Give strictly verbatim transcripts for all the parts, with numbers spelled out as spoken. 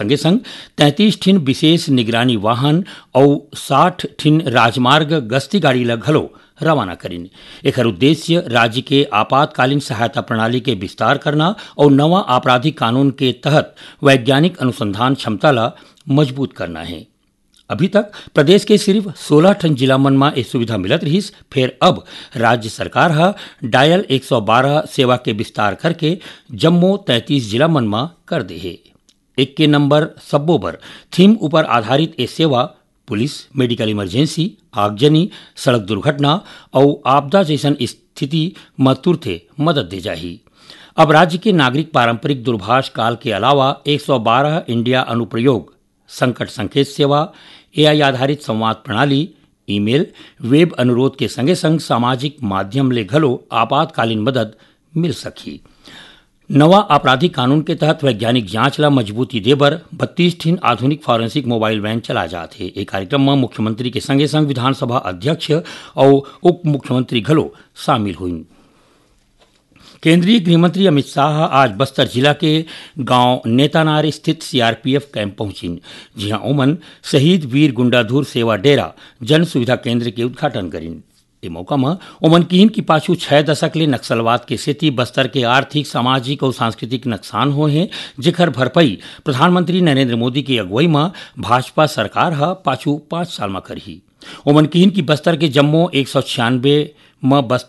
संगे संग तैंतीस ठिन विशेष निगरानी वाहन अउ साठ ठिन राजमार्ग गश्ती गाड़ी ल घलो रवाना करिन। एखर उद्देश्य राज्य के आपातकालीन सहायता प्रणाली के विस्तार करना अउ नवा आपराधिक कानून के तहत वैज्ञानिक अनुसंधान क्षमता ल मजबूत करना हे। अभी तक प्रदेश के सिर्फ सोलह ठन जिला मन म ए सुविधा मिलत रिहिस, फेर अब राज्य सरकार ह डायल एक सौ बारह सेवा के विस्तार करके जम्मो तैंतीस जिला मन म कर दे हे। एक के नंबर सब्बो बर थीम ऊपर आधारित ए सेवा पुलिस, मेडिकल इमरजेंसी, आगजनी, सड़क दुर्घटना अउ आपदा जइसन स्थिति म तुरते मदद दे जाही। अब राज्य के नागरिक पारंपरिक दूरभाष काल के अलावा एक सौ बारह इंडिया अनुप्रयोग, संकट संकेत सेवा, एआई आधारित संवाद प्रणाली, ईमेल, वेब अनुरोध के संगे संग सामाजिक माध्यम ले घलो आपातकालीन मदद मिल सकही। नवा आपराधिक कानून के तहत वैज्ञानिक जांच ला मजबूती देबर बत्तीस ठिन आधुनिक फॉरेंसिक मोबाइल वैन चला जात हे। ए कार्यक्रम म मुख्यमंत्री के संगे संग विधानसभा अध्यक्ष अउ उप मुख्यमंत्री घलो शामिल होइन। केंद्रीय गृह मंत्री अमित शाह आज बस्तर जिला के गांव नेतानार स्थित सीआरपीएफ कैंप पहुंचिन, जिहां ओमन शहीद वीर गुंडाधुर सेवा डेरा जन सुविधा केंद्र के उद्घाटन करिन। ए मौका म ओमन किहिन कि पाछू छह दशक ले नक्सलवाद के सेती बस्तर के आर्थिक, सामाजिक अउ सांस्कृतिक नकसान होए हे, जेखर भरपाई प्रधानमंत्री नरेंद्र मोदी के अगुवई म भाजपा सरकार ह पाछू पाँच साल म करही। ओमन किहिन कि बस्तर के जम्मो एक सौ छियानबे म बस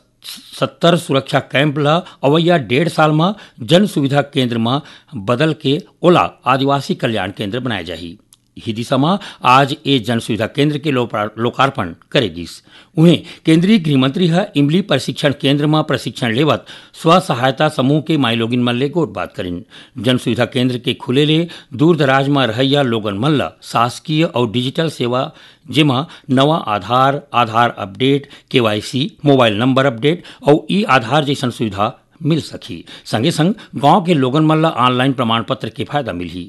सत्तर सुरक्षा कैंप ल अवइया डेढ़ साल म जन सुविधा केंद्र म बदल के ओला आदिवासी कल्याण केंद्र बनाए जाही। इही दिशा म आज ए जन सुविधा केंद्र के लोपा-, लोकार्पण करे गिस। उहें, केंद्रीय गृह मंत्री ह इमली प्रशिक्षण केंद्र म प्रशिक्षण लेवत स्व सहायता समूह के माईलोगिन मन ले गोठबात करिन। जन सुविधा केंद्र के खुले ले दूर दराज म रहइया लोगन मन ल शासकीय अउ डिजिटल सेवा, जेमा नवा Aadhaar, Aadhaar update, K Y C, mobile number update अउ ई आधार जइसन सुविधा मिल सकही। संगे संग गांव के लोगन मन ल ऑनलाइन प्रमाण पत्र के फायदा मिलही।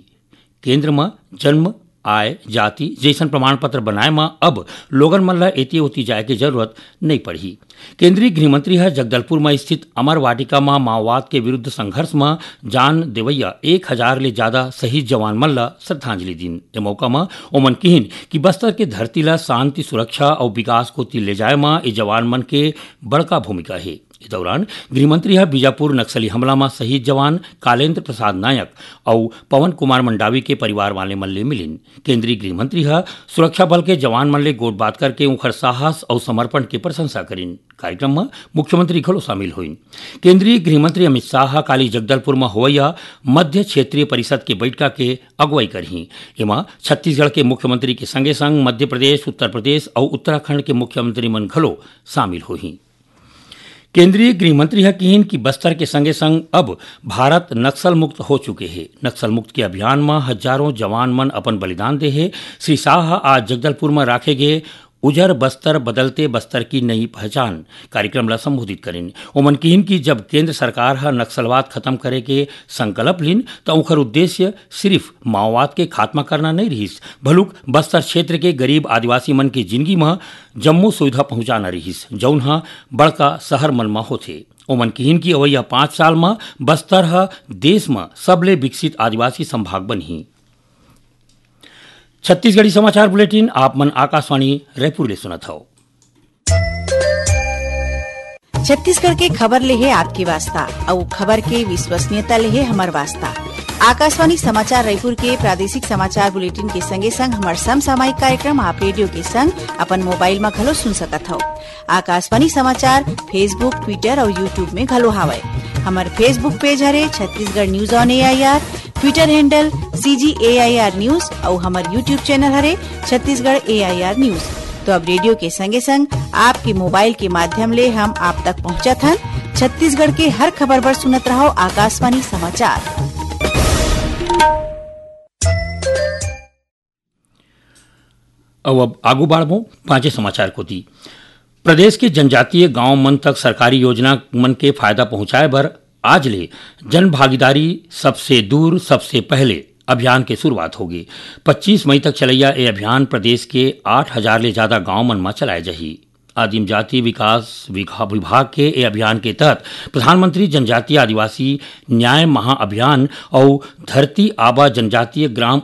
केंद्र म जन्म, आय, जाति जइसन प्रमाण पत्र बनाए म अब लोगन मन ल एती ओती जाए के जरूरत नइ पड़ही। केंद्रीय गृह मंत्री ह जगदलपुर म स्थित अमर वाटिका म माओवाद के विरुद्ध संघर्ष म जान देवइया एक हजार ले जादा शहीद जवान मन ल श्रद्धांजलि दीन। ए मौका म ओमन किहिन कि बस्तर के धरती ल शांति, सुरक्षा अउ विकास कोति ले जाए म ए जवान मन के बड़का भूमिका हे। ए दौरान गृह मंत्री ह बीजापुर नक्सली हमला म शहीद जवान कालेंद्र प्रसाद नायक अउ पवन कुमार मंडावी के परिवार वाले मन ले मिलिन। केंद्रीय गृह मंत्री ह सुरक्षा बल के जवान मन ले गोठबात करके उंखर साहस अउ समर्पण के प्रशंसा करिन। कार्यक्रम म मुख्यमंत्री घलो शामिल होइन। केंद्रीय गृह मंत्री अमित शाह ह काली जगदलपुर म होवइया मध्य क्षेत्रीय परिषद के बइठका के अगुवई करही। एमा छत्तीसगढ़ के मुख्यमंत्री के संगे संग मध्य प्रदेश, उत्तर प्रदेश अउ उत्तराखंड के मुख्यमंत्री मन घलो शामिल होही। केंद्रीय गृह मंत्री ह किहिन कि बस्तर के संगे संग अब भारत नक्सल मुक्त हो चुके हे। नक्सल मुक्त के अभियान म हजारों जवान मन अपन बलिदान दे हे। श्री शाह ह आज जगदलपुर म राखे गे उजर बस्तर बदलते बस्तर की नई पहचान कार्यक्रम ला संबोधित करिन। ओमन किहिन कि जब केंद्र सरकार ह नक्सलवाद खत्म करे के संकल्प लिन, त ओखर उद्देश्य सिर्फ माओवाद के खात्मा करना नइ रिहिस, भलुक बस्तर क्षेत्र के गरीब आदिवासी मन के जिनगी म जम्मो सुविधा पहुंचाना रिहिस, जउन ह बड़का शहर मन म होथे। ओमन किहिन कि अवइया पाँच साल म बस्तर ह देश म सबले विकसित आदिवासी संभाग बनही। छत्तीसगढ़ी समाचार बुलेटिन आप मन आकाशवाणी रायपुर ले सुनत हव। छत्तीसगढ़ के खबर ले हे आपके वास्ता, अउ खबर के विश्वसनीयता ले हे हमर वास्ता। आकाशवाणी समाचार रायपुर के प्रादेशिक समाचार बुलेटिन के संगे संग हमर समसामयिक कार्यक्रम आप रेडियो के संग अपन मोबाइल म घलो सुन सकत हव। आकाशवाणी समाचार Facebook, Twitter अउ YouTube में घलो हावय। हमर Facebook पेज हरे Chhattisgarh news on AIR, Twitter handle CG AIR news अउ हमर YouTube चैनल हरे छत्तीसगढ़ एआईआर न्यूज। तो अब रेडियो के संगे संग आपके मोबाइल के माध्यम ले हम आप तक पहुंचत हन। छत्तीसगढ़ के हर खबर बर सुनत रहव आकाशवाणी समाचार। अउ अब आगू बाढ़बो पांचे समाचार कोति। प्रदेश के जनजातीय गांव मन तक सरकारी योजना मन के फायदा पहुंचाए बर आज ले जन भागीदारी सबसे दूर सबसे पहले अभियान के शुरुआत होगी। पच्चीस मई तक चलैया ए अभियान प्रदेश के आठ हजार ले ज्यादा गांव मन म चलाए जाही। आदिम जाति विकास विघा-, विभाग के ए अभियान के तहत प्रधानमंत्री जनजातीय आदिवासी न्याय महाअभियान अउ धरती आबा जनजातीय ग्राम